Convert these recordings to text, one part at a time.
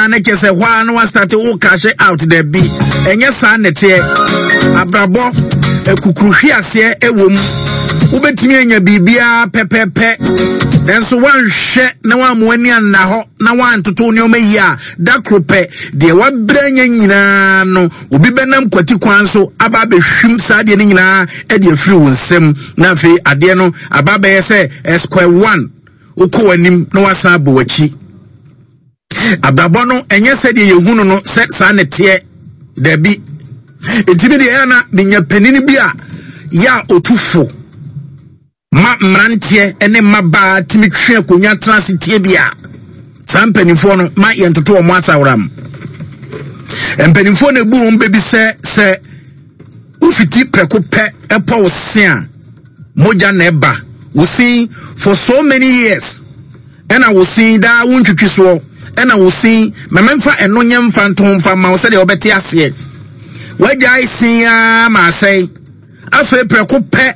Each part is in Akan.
a na kyerɛ sɛ hɔ a na wasate wo cash out. Dabi, ɛnyɛ saa na ɛteɛ. Abrabɔ akukuruhwe aseɛ ɛwɔ mu. Wobɛtumi anya biribiara pɛpɛpɛ, nanso woanhwɛ na woammo ani anna hɔ na woantoto nneɛma yie a, da koro pɛ, deɛ wabrɛ anya nyinaa no, obi bɛnam kwati kwan so aba abɛhwim saa adeɛ no nyinaa de afiri wo nsam, na afei adeɛ no aba abɛyɛ sɛ eh, square one, wokɔ w'anim na wasan abɔ w'akyi. Abrabɔ no ɛnyɛ sɛdeɛ yɛhu no no sɛ saa ne teɛ, daabi. Nti me deɛ ɛyɛ na menya panin bi a yɛ a ɔtu fo ma mmeranteɛ ne mmabaa tumi twe akonnwa tena ase tie bi a, saa mpanimfoɔ no ma yɛntoto wɔn asaworam. Mpanimfoɔ na ebu wɔn bɛbi sɛ sɛ wofiti prɛko pɛ ɛpɔ wo se a, mogya na ɛba wo sin for so many years, ɛna wo sin daa wo ntwitwi soɔ, ɛna wo sin mɛmɛmfa ɛno nyɛ mfa nto mfa ma wo sɛdeɛ wɔbɛte aseɛ. Wagyae sin ara ma asɛe. Afei prɛko pɛ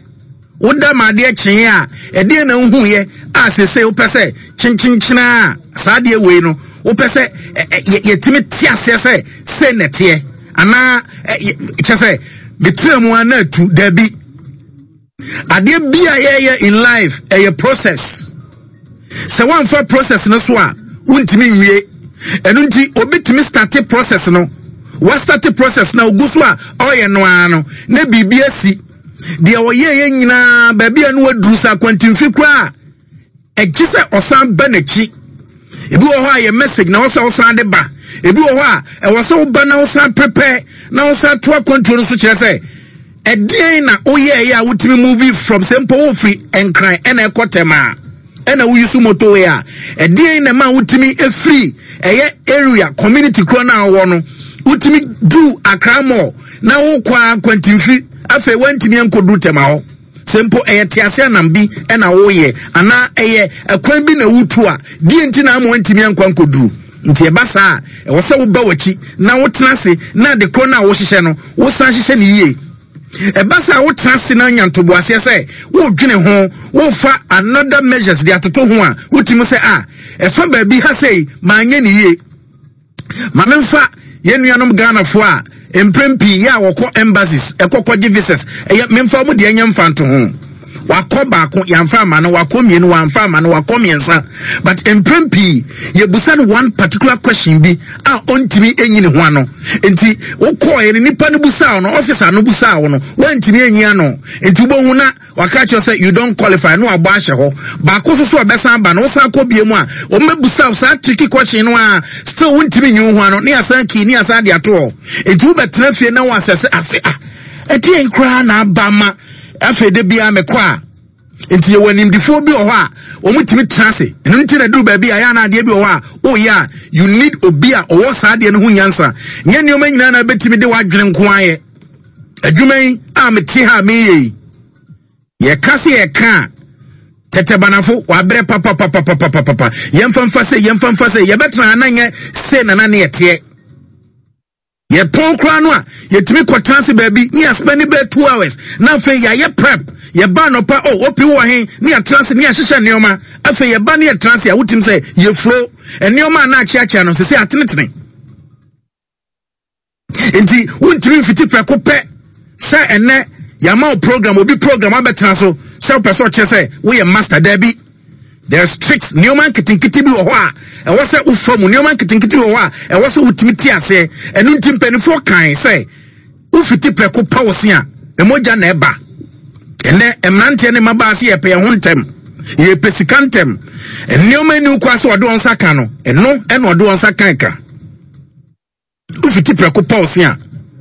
Woda ma adeɛ kyee a, ɛdeɛn na wohuiɛ a seesei wopɛ sɛ kyenkyenkyena a saa adeɛ wei no wopɛ sɛ yɛtumi te aseɛ sɛ sei na ɛteɛ anaa kyɛ sɛ metena mu a na atu? Daabi. Adeɛ bi a yɛyɛ in life ɛyɛ process. Sɛ woamfa process no so a, wontumi nwie. Ɛno nti obi tumi starte process no, wastate process na ogu so a ɔyɛ no ara no na biribi asi. Deɛ ɔyɛeɛ nyinaa, baabi a no waduru sɛ akwantemfi koraa a, ɛgye sɛ ɔsan ba n'akyi. Ebi wɔ hɔ a yɛ message na ɔsɛ ɔsan de ba. Ebi wɔ hɔ a ɛwɔ sɛ woba na wosan prepare na wosan to akwantuo no so, kyerɛ sɛ ɛdeɛn na woyɛeɛ a wotumi move from, sɛ mpo wofiri Nkran ɛna ɛkɔ Tɛm a ɛna woyi so motorway a, ɛdeɛn na ɛma wotumi efiri ɛyɛ area community korɔ no a wɔwɔ no wotumi du Accra Mall na wokɔ a kwantimfi, afei wantumi ankɔduru Tɛma hɔ? Sɛ mpo ɛyɛ tease anam bi ɛna woyɛ anaa ɛyɛ ɛkwan bi na wotu a, deɛ nti na ama wantumi ankɔ ankɔduru? Nti ɛba saa a, ɛwɔ sɛ woba w'akyi na wotena ase na ade korɔ no a wohyehyɛ no wosan hyehyɛ no yie. Ɛba saa a, wotena ase na nya ntoboaseɛ sɛ wodwene ho, wofa another measures de atoto ho a, wotumi sɛ a ɛfa baabi ha sei manyɛ ne yie. Ma memfa yɛn nuanom Ghanafoɔ a mprɛn pii yɛ a wɔkɔ embassies ɛkɔ kɔgye visas, ɛyɛ memfa wɔn deɛ nyɛ mfa nto ho. Wakɔ baako, yɛamfa ama no, wakɔ mmienu, wamfa ama no, wakɔ mmiɛnsa, but mprɛn pii yɛbusa no one particular question bi a ɔntumi enyi ne ho ano. Nti wokɔɔ yɛ no, nipa no busaa no, officer no busaa wo no, wantumi enyi ano. Nti wobɛhu na waka kyerɛ sɛ you don't qualify no, abɔ ahyɛ hɔ. Baako nso so a ɔbɛsan aba no, wosan kɔ bie mu a, wɔn bɛbusa saa tricky question no a still wontumi nyi wo ho ano, ne asan kii ne asan de ato hɔ. Nti wobɛtena fie na wɔasɛse ase a, ɛdeɛn koraa na aba ma afei de biara mekɔ a? Nti yɛwɔ animdifoɔ bi wɔ hɔ a wɔn tumi tena ase. Ɛno nti na duru baabi a yɛ ana adeɛ bi wɔ hɔ a woyɛ a, you need obi a ɔwɔ saa adeɛ no ho nyansa. Nyɛ nneɛma nyinaa na bɛtumi de w'adwene nko ayɛ. Adwuma yi a mete ha a meyɛ yi, yɛka se yɛka a tɛtɛbanafo wabrɛ papapapapapapa. Yɛmfa mfa sɛ, yɛmfa mfa sɛ yɛbɛtena ha na nyɛ se nana ne yɛteɛ. Yɛpɔn koraa no a, yɛtumi kɔtena ase baabi ne yɛaspɛne bɛɛ 2 hours na afei yɛayɛ prep. Yɛba anɔpa o, oh, opi wɔ he ne yɛatena ase ne yɛahyehyɛ nneɛma. Afei yɛba ne yɛtena ase a, wotim sɛ yɛfuro nneɛma a na akyeakyea no sɛ sɛ atenetene. Nti wontumi mfiti prɛko pɛ sɛ ɛnɛ yɛama wo program, obi program abɛtena so sɛ wopɛ sɛ ɔkyerɛ sɛ woyɛ master. Daabi, there's tricks, nneɛma nketenkete bi wɔ hɔ a ɛwɔ sɛ wofa mu, nneɛma nketenkete bi wɔ hɔ a ɛwɔ sɛ wotumi te aseɛ. Ɛno nti mpanimfoɔ kan sɛ wofiti prɛko pa wo se a, mogya na ɛba. Ɛnɛ mmeranteɛ ne mmabaa se yɛpɛ yɛn ho ntɛm, yɛpɛ sika ntɛm. Nneɛma ni kɔ sɛ ɔde wɔn nsa ka no, ɛno ɛna ɔde wɔn nsa kan ka. Wofiti prɛko pa wo se a,